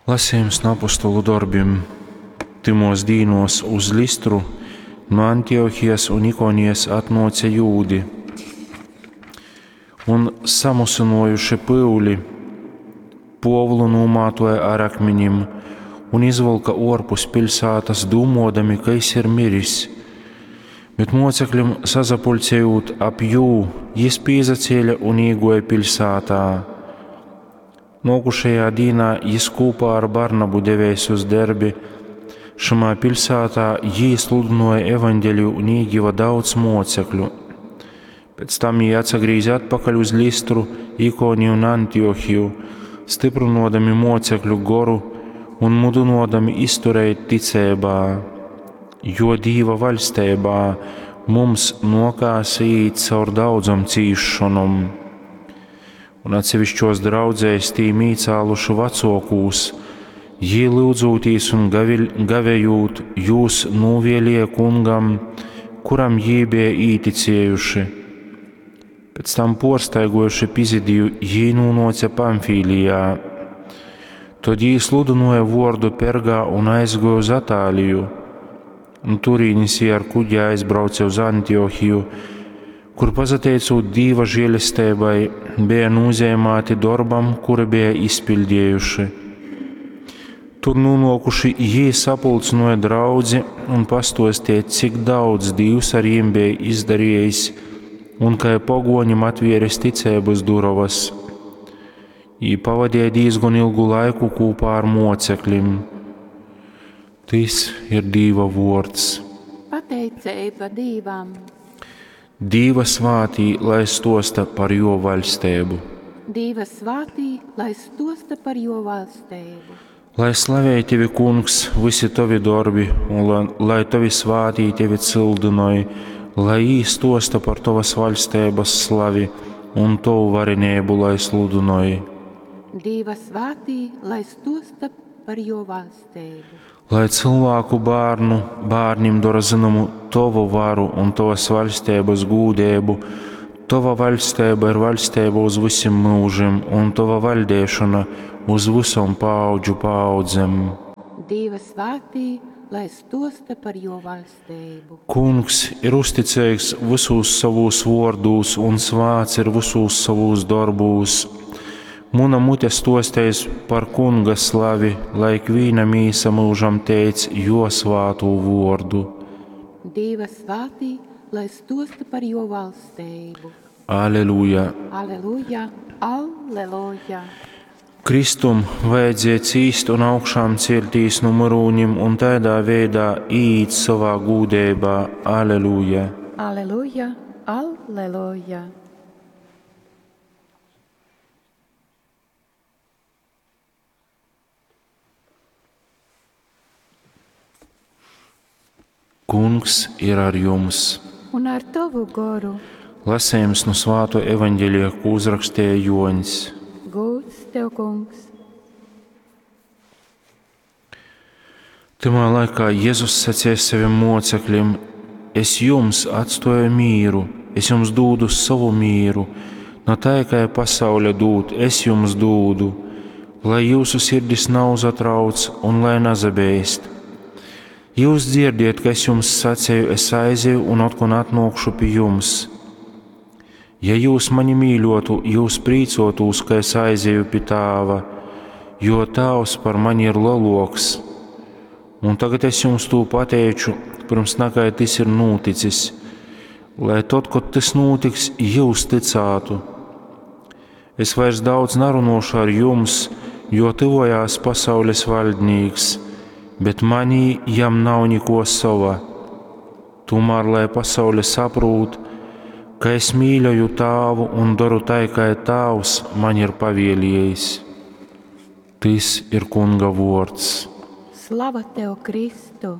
Lasījums no apostolu dorbim. Tymos dīnos uz Listru no Antiohijas un Ikonijas atnōce jūdi un samusinojuši pyuli, Pōvulu nūmātoja ar akminim un izvylka ōrpus piļsātas, dūmōdami, ka jis ir miris. Bet mōceklim sasapuļcejūt ap jū, jis pīsacēle un īgōja piļsātā. Nōkušajā dīnā jis kūpā ar Barnabu devēs uz Derbi. Šamā piļsātā jī sludynōja evaņgeliju un īgiva daudz mōcekļu. Pēc tam jī atsagrīze atpakaļ uz Listru, Ikoniju un Antiohiju, styprynōdami mōcekļu goru un mudynōdami izturēt ticeibā, jo Dīva vaļsteibā mums nōkās īt caur daudzom cīsšonom. Un atsevišķos draudzēs tīm īcāluši vecōkūs, jī lyudzūtīs un gavējūt jūs nūvēlēja kungam, kuram jī bija īticējuši. Pēc tam porstaigojuši Pizidiju, jī nūnōce Pamfīlijā. Tod jī sludynōja vōrdu Pergā un aizgōja uz Atāliju. Un turīnis jī ar kuģi aizbrauce uz Antiohiju, kur pasateicūt Dīva žēlesteibai bija nūzeimāti dorbam, kuru bija izpildējuši. Tur nonākuši jī sapulcināja draudzi un pastostīja, cik daudz Dīvs ar jim bija izdarījis un kai pogoņim atvieris ticeibas durovas. Jī pavadīja diezgan ilgu laiku kopā ar mocekļiem. Tys ir Dīva vārds. Pateiceiba Dīvam! Dīva svātī, lai stosta par jo vaļstību. Dīva svātī, lai stosta par jo valstību. Lai slavej tevi, kungs, visi tovi dorbi, un lai, lai tovi svātī tevi cildinoj, lai jī stosta par tovas vaļstības slavi un tovu varenību, lai sludinoj. Dīva svātī, lai stosta par jo valstību. Lai cilvēku bērnu, bērnim dara zināmu tovu varu un tovas vaļstības gūdību, tova vaļstība ir vaļstība uz visiem mūžiem, un tova valdēšana uz visam paudžu paudzēm. Dīva svātī, lai stosta par jo valstību. Kungs ir uzticīgs visos savos vārdūs un svāts ir visos savos darbūs. Muna mute stostēs par kunga slavi, lai ikvīna mīsa mūžam teic jo svātū vārdu. Dīva svātī, lai stosta par jo valstību. Aleluja! Aleluja, aleluja! Kristum vajadzēja cīst un augšām celtīs no myrūņiem un tādā veidā iet savā gūdībā. Aleluja! Aleluja, aleluja! Kungs ir ar jums! Un ar tovu goru Lasījums no Svāto evaņģēlija, ko uzrakstīja Joņs. Gūds tev, kungs! Tymā laikā Jēzus sacīja saviem mocekļiem: Es jums atstoju mīru, es jums dūdu savu mīru, no tā, kā pasaule dūd, es jums dūdu, lai jūsu sirdis nav uzatrauc un lai nazabeist. Jūs dzirdiet, ka es jums sacīju, es aizēju un atkal atnākšu pie jums. Ja jūs mani mīļotu, jūs prīcotos, ka es aizēju pie tāva, jo tāvs par mani ir leloks. Un tagad es jums to pateicu, pirms nakai tas ir noticis, lai tad, kad tas notiks, jūs ticātu. Es vairs daudz narunošu ar jums, jo tuvojās pasaules valdnieks, bet manī jam nav neko sava. Tomēr, lai pasaule saprūt, ka es mīļoju tāvu un daru tai, kā tāvs man ir pavēlējis. Tis ir kunga vārds. Slava tev, Kristu!